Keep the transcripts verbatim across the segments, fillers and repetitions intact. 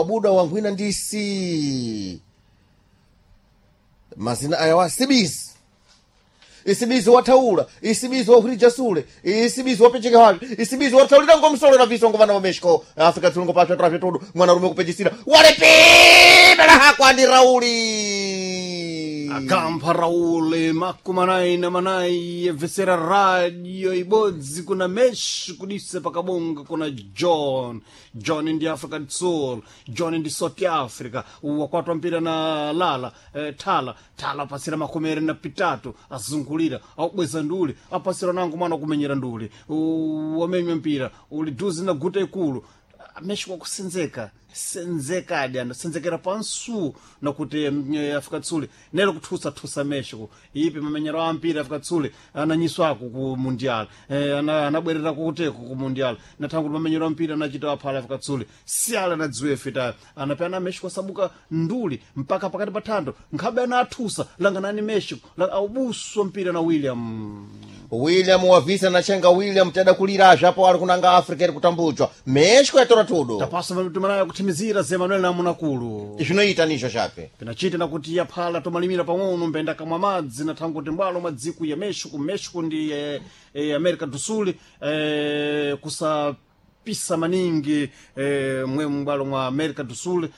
Wabuda wankhwina ndi si mazina aya wa sibisi isibizi wathaula, isibizi wakhwirija sule, isibizi wapecheka wapi, isibizi wathaulira ngomsolera viso ngo vana va Mexico Afrika tsulungo pasha trafya tudu mwanarume kupejisira walepimela hakwandi Rauli. Akampa Raul makumi na manayi yebvesera radio ibodzi kuna Mexico kudisa pakabonga kuna John. John ndi Africa do Sul, John ndi South Africa, wakwatwa mpira na Lala, eh, Thala Thala apasira makomere na pitatu, azungulira aubweza nduli apasira nango mwana kumenyera nduli. U- wamenywa mpira uli duzi na guta ikulu. Mexico akusenzeka senzekadi ano senzekera pansu nakuti mm, eh, Afrika Tsuli nelo kuthusathusa Mexico ipi mamenyero a mpira Afrika Tsuli ananyiswako ku mundial, eh, ana- anabwerera kuteko ku mundial nathangu kuti mamenyero a mpira anachita aphala Afrika Tsuli siala anadziwe fitayo anapena Mexico asabuka nduli mpaka pakati pa thando nkhabe anathusa langanani Mexico la- aubuswa mpira na William. William wavisa nachenga William teda kulira zvapo ari kunanga Africa iri kutambudzwa Mexico yatora tudo. Tapaso tumanayo kuthimizira Zemanuel namunakulu. Zvinoita nizvo zvape. Pinachita nakuti yaphala tomalimira pang'ono mbenda kamwa madzi nathangu kuti mbwalo mwa dziko ya Mexico. Mexico ndi eh, eh, America do Sul, eh, kusapisa maningi eh, mwe mbwalo mwa America do Sul,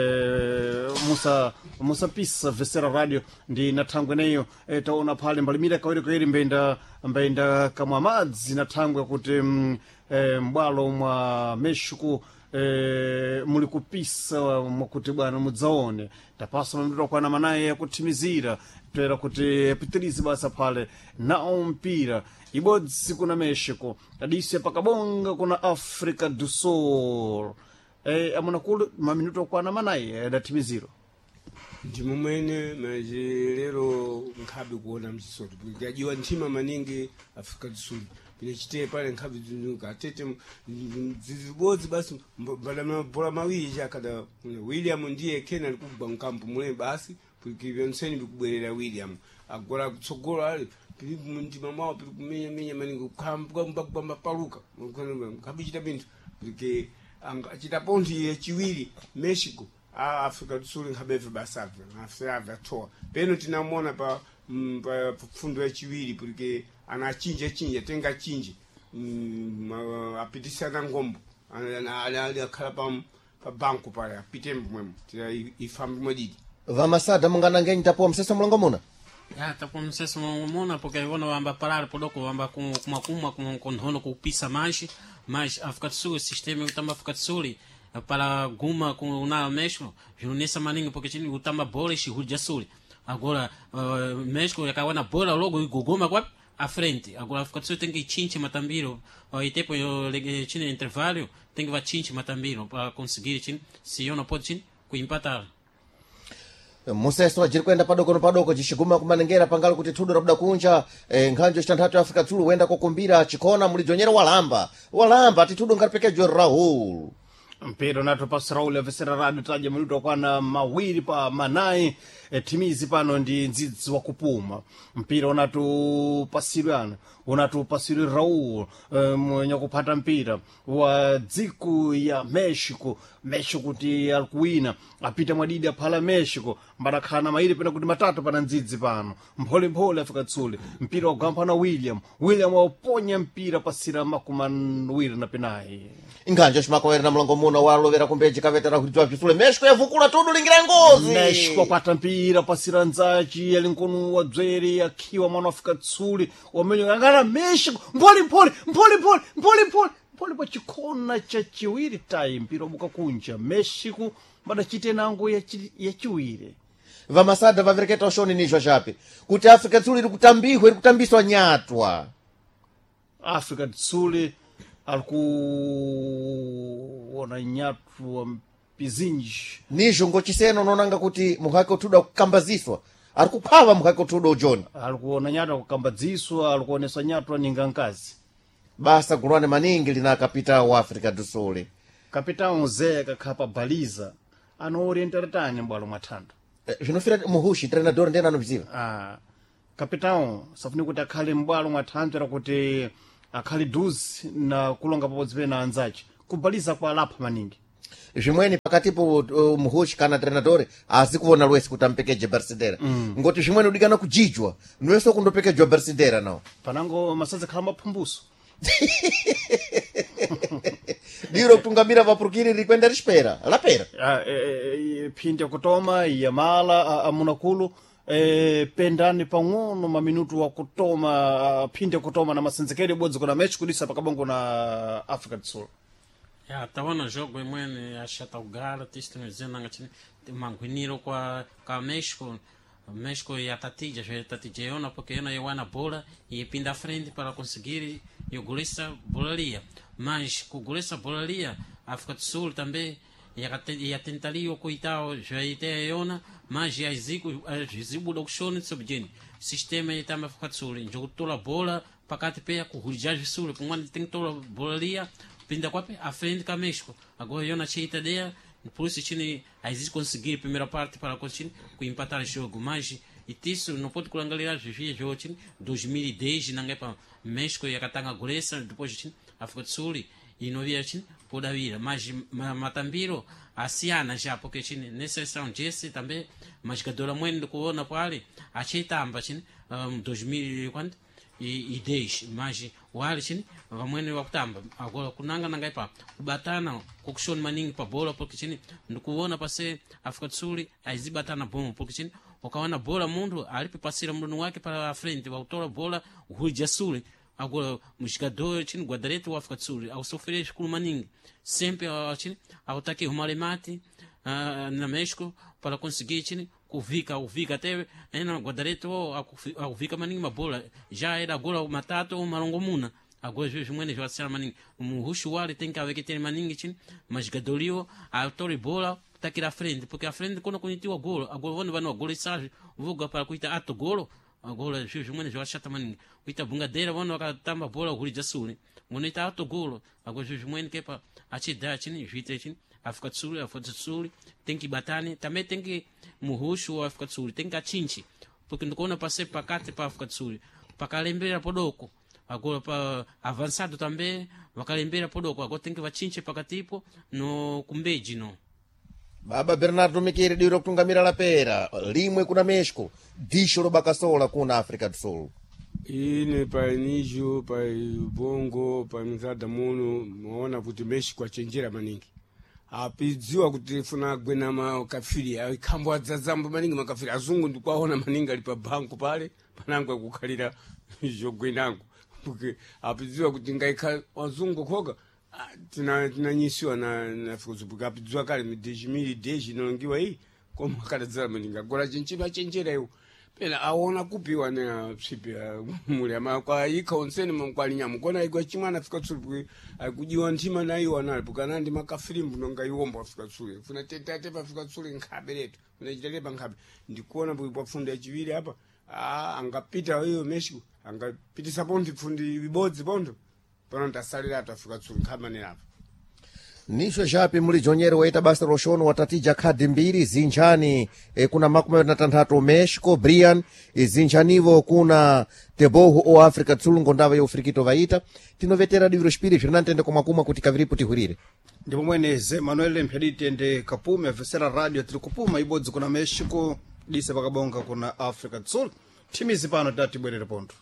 eh, musa musapisa vesera radio ndi nathangwe neyo, eh, taona phale mbalimira kawiri kawiri mbenda mbenda kamwa madzi nathangwe kuti mm, eh, mbwalo mwa Mexico eh, muli kupisa mwakuti bwana mudzaone tapasa mamiro kwana manaye yakuthimizira toera kuti apitirize basa phale nawo mpira ibodzi kuna Mexico adise pakabonga kuna Africa do Sul, eh, amunakulu maminuto kwana manaye adathimiziro. Ndi mumwene maje lero nkhabe kuona mchisoto ndajiwa nthima maningi Africa do Sul pinachiteye pale nkhabe zinuka atete zizibodzi basi mbada mawiri chakada William ndiye kena alikugwa mkampu mule basi pyonseni bikubwerera William agora kutsogolo ali pili mundima mwawo pili kumenyamenya maningi kukhambamba paluka nkhabe pinthu porque achita pontho yachiwiri Mexico a Africa do Sul nkhabeve basabve afave athowa peno tinamona pa mm, pa pfundo yachiwiri porque anachinja chinja tenga chinji mm, ma- apitisana ngombo Ana- ana- ali ali akhala pa pa banko pale apite mwemo tira ifambe mwadidi. Vamasada munganangenyi tapuwa msesa mulongo muna. Ya, tapo mseso mona porque vona vamba parar podoko vamba kuma kuma kuma konhono kupisa mais mas África do Sul sistema utamba África do Sul para guma com na México junessa maningi porque chini utamba bola e de Sul agora uh, México yakawa na bola logo igogoma kwa à frente. Agora África do Sul tem que chinche matambiro uh, e tempo eu chini intervalo tem que vai chinche matambiro para conseguir chini se eu não pode chini kuempatar. Museso ajiri kuenda padoko no padoko jishiguma kumanengera pangalo kuti thudo rabuda kunja, eh, nkhanjo chitanthatu ya Afrika Tsulu wenda kokumbira chikhona mulidzonyera walamba walamba tithudo ngaripekejwe Rahul. Mpira unatopasa Raul avesera radio taja minuto kwana mawiri pa manayi, e, timizi pano ndi ndzidzi wakupuma mpira unatupasidwe ano unatupasidwe Raul, e, mwenye kuphata mpira wa dziko ya Mexico. Mexico kuti alikuwina apita mwadidi aphala Mexico mbadakhala na mairi pena kuti matatu pana ndzidzi pano mpholemphole Afrika Tsuli mpira wagwampha na William. William wauponya mpira pasira makumi awiri na penayi. Nkhanjo cimakowera na mulongo muno walovera kumbeji kavetera kuti bzisule Mexico yavukula tudu lingira ngozi. Mexico akwata mpira pasira nzachi ali nkono wa dzwere akhiwa mwana wa Afrika Tsuli wamenyo angana Mexico mpholi mpholi mpholi mpholi mpholi mpholi mpholi pa chikhona cha chiwiri tayi mpira wabuka kunja Mexico mbadachite nango yachi- yachiwiri. Vamasada vavereketa ushoni nizvo zvape kuti Afrika Tsulu iri kutambihwa iri kutambiswa nyatwa. Afrika Tsuli alikuona nyatwa mpizinji. Nizvo ngochiseno unoonanga kuti muhake uthudo akukambaziswa ari kuphava muhake uthudo ujoni. Alikuona nyatwa kukambadziswa alikuonesa nyatwa ninga nkazi. Basa gulwane maningi lina kapita wa Africa do Sul. Kapitão Zé kakhapa baliza anoorientera tani m'bwalo mwa thando. Eh, zvinofira muhushi treinador ndiyena anobziva. Ah, kapitão safuni kuti akhale m'bwalo mwa thanthwe lakuti akhale duzi na kulonga pabodzi pena anzace kubaliza kwa alapha maningi. Zvimweni pakatipo uh, muhushi kana trenadore asi kuona lwesi kuti ampekeje bersidera mm. Ngoti zvimweni udikana kujijwa nwese kundopekejwa bersidera nawo Panango masadza khala maphumbuso. Diro kutungamira vapurukiri rikwenda rishpera lapera. Ah, eh, eh, phindi yakutoma yamala ah, amunakulu eh, pendani pang'ono maminutu wakutoma ah, phindi yakutoma na masenzekeri ibodzi kuna mechi kudisa pakabongo na Africa do Sul. Ya, tava no jogo imwene achata ugara tistino nanga chini manguiniro kwa kwa México. México e a Tatija, já Tatija yona porque yona iwana bola e pinda frente para conseguir e o golista bola lia. Mas com o golista bola lia, a África do Sul também ia tentaria coitao já ite yona, mas já zico zibu do shone sobjeni. Sistema e também África do Sul, jogo tola bola pakati pe ku hurijaji sul, com tem tola bola lia pinda kwape a frente com a México. Agora eu na cheita ideia, por isso chini aí conseguir primeira parte para conseguir com empatar o jogo, mas e isso não pode kulangalira zvizvi jogo chini dois mil e dez nanga pa México yakatanga golesa, depois chini África do Sul e não via chini podavira, mas ma, matambiro asiyana já porque chini nessa seleção jesse também mas jogador mwene kuona pale acheitamba chini um, dois mil e quanto e, e dez, mas wali chini vamwene wakutamba. Agora kunanga nanga ipa kubatana kukushoni maningi pa bola porque chini ndikuona pase África do Sul aizibatana bom porque chini ukaona bola mundu alipe pasira mlunu wake para frente wautola bola huja sule. Agora jogador chini guarda-redes wa África do Sul ao sofrer escuro maningi sempre ah, chini autaki rumalemate ah, na México para conseguir chini kuvika uvika até ena guarda-redes akuvika maningi mabola já era agora matatu ou malongomuna. Agora zvimwene zvasiyana maningi muhushi wale tem que haver que ter maningi chini mas jogador atore bola takira frente porque a frente quando kunitiwa golo agora vano vano golo sabe voga para kuita ato golo. Agora zvimwene zvashata maningi kuita bungadeira vano vakatamba bola hurija sule ngonoita ato golo. Agora zvimwene kepa achida chini zviite chini África do Sul África do Sul tem que batane também tem que muhushu wa África do Sul tem que achinchi porque ndikuona pase pakati pa África do Sul pakalembera podoko agora pa avançado também vakalembera podoko agora tem que vachinche pakatipo no kumbeji no. Baba Bernardo Mikiri diro kutungamira lapera limwe kuna México disho lobakasola kuna África do Sul. Ine pa nijo pa bongo pa mzada muno maona kuti Mexico achenjera maningi apidziwa kuti funa gwena makafiri ikhambo adzadzambo maningi makafiri azungu ndikwaona maningi ali pa banku pale panango akukhalira zogwenango porque apidziwa kuti ngaikha wazungu khoka ah, tina tinanyisiwa na na Afrika apidziwa kale mi dois mil e dez inalongiwa iyi koma akadadzala maningi agora chinchino achenjera iwo pena aona kupiwa ne psipi muli ama kwa ikha onsene mkwali kona igwa chimwana Afrika Sul akujiwa nthima na iwo anali pokana ndi makafirimbu nonga iwombo Afrika Sul funa tetate pa Afrika Sul nkhabe letu funa chitale pa nkhabe ndikuona pa fundo yachiwiri apa ah angapita iyo Mexico angapitisa pontho pfundi ibodzi pontho pano ndasalira atu Afrika Sul nkhamanera apa. Nisho japi muli jonyere waita basa roshono watatija khadi mbiri zinjani e, kuna makumi awiri na tanthatu México Brian e, zinjanivo kuna Teboho o África do Sul ngondava ya ufrikito vaita tinovetera diviro xipiri zvirinantende kumwakumwa kuti kaviripo tihwirire. Ndipo mwene ze Manuel mphedite ndi kapume avesera radio tiri kupuma ibodzi kuna Mexico dise pakabonga kuna Africa do Sul thimizi pano tati tibwerere pontho.